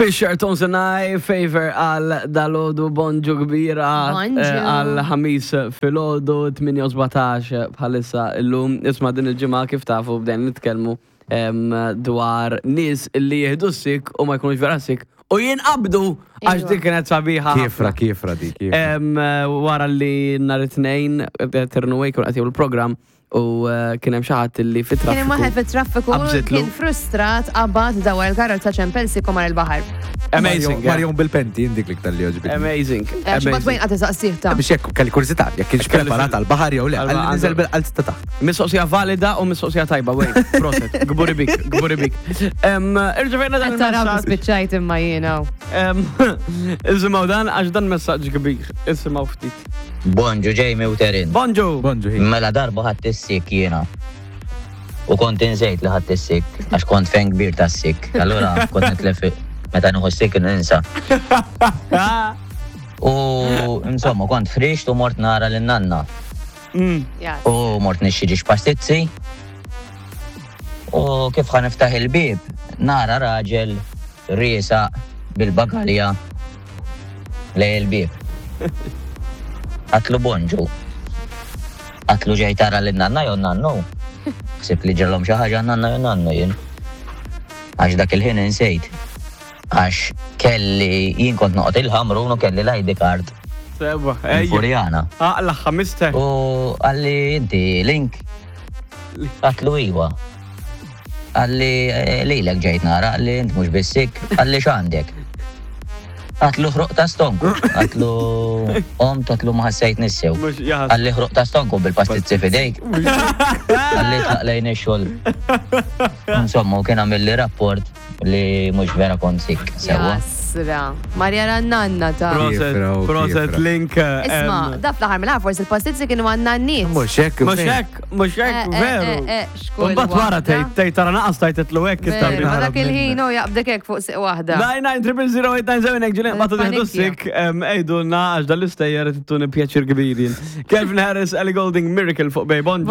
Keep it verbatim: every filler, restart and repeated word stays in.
Fisher, Tones and I, Favor għal dalgħodu, bonġu kbira. Bonġu. eh, Għal Ħamis filgħodu, tmienja u sbatax bħalissa illum. Isma', din il-ġimgħa, kif tafu, bdejn nitkellmu em, dwar nies li jieħdu sick u ma jkunux vera sick u jinqabdu, għax Iva. dik kienet sabiħa. Kiefra, kiefra di, kiefra. Em, wara li nhar it-Tnejn Turn Away kun qed il-programm u eh, kien hemm xi ħadd li Kien hemm waħed fit-traffiku. fit-traffiku Qabżitlu. kien frustrat, qabad dawar il-karozza, ċempel sick u mar il-baħar. Amazing. eh? Marion bil-penti, indik li ktar li għoġbitni. Amazing. Xbat Amazing. wejn qed isaqsih ta' Biex jekk kelli kurżità, jekk kienx Kelli preparat fil- għal-baħar jew le, Għal- għalli niżel għandu- bil-qalz ta' taħt. Mistoqsija valida u mistoqsija tajba, wejn. Proset, gburi bik, gburi bik. Em, Irċevejna dan Qed taraw il-messaġġ. spiċċajt imma jiena. Em, Isimgħu dan, għax dan messaġġ kbir. Isimgħu ftit. Bonġu, Jamie u Terin. Bonġu. Bonġu, hi. Mela, darba ħadt is-sick jiena. U kont insejt li ħadt is-sick, għax kont fan kbir ta' sick. Allura kont nitlef meta nieħu sick ninsa. U insomma kont ħriġt u mort nara lin-nanna. Mm. Yes. U mort nixtri pastizzi. U kif ħa niftaħ il-bib, nara raġel riesaq bil-bagalja lejn il-bib. Għedtlu bonġu. Għedtlu ġej tara lin-nanna jew nannu. Ħsibt li ġralhom xi ħaġa nanna jew nannu jien. Għax dak il-ħin insejt. Għax kelli, jien kont noqgħod il-Ħamrun u kelli l-I D card Sewwa, ejja. il-Furjana. Aqla ħamiste. U qalli, "Inti Link?" Għedtlu iwa. Qalli, eh, lilek ġejt nara, qalli int mhux bis-sick, qalli x'għandek? Għedtlu ħruq ta' stonku. Għedtlu om, għedtlu ma ħassejtnix sew. Mhux jaħas. Qalli ħruq ta' stonku bil-pastizzi f'idejk. Qalli tlaq lejn ix-xogħol. Insomma, u kien għamilli rapport li mhux vera kont sick. Sewwa. Jasra. Marja nanna ta' Proset, Kiefra, u proset, kiefra. Link. Isma, em, da fl-aħħar mill forsi il-pastizzi kienu għan-nanniet. Mhux hekk. Mhux hekk, mhux hekk, Eh, eh, veru. eh, eh, xkull Mbagħad wara waħda. tgħid tgħid tara naqas tajtetlu hekk Veru, it-tabib. ma dak il-ħin u jaqbdek hekk fuq siq waħda. nine nine triple zero eight nine seven hekk ġilin batu tieħdu Panikja. sick, għidulna, għax dal-istejjer tuni pjaċir kbir jien. Calvin Harris, Ellie Goulding, Miracle fuq Bay. Bonġu.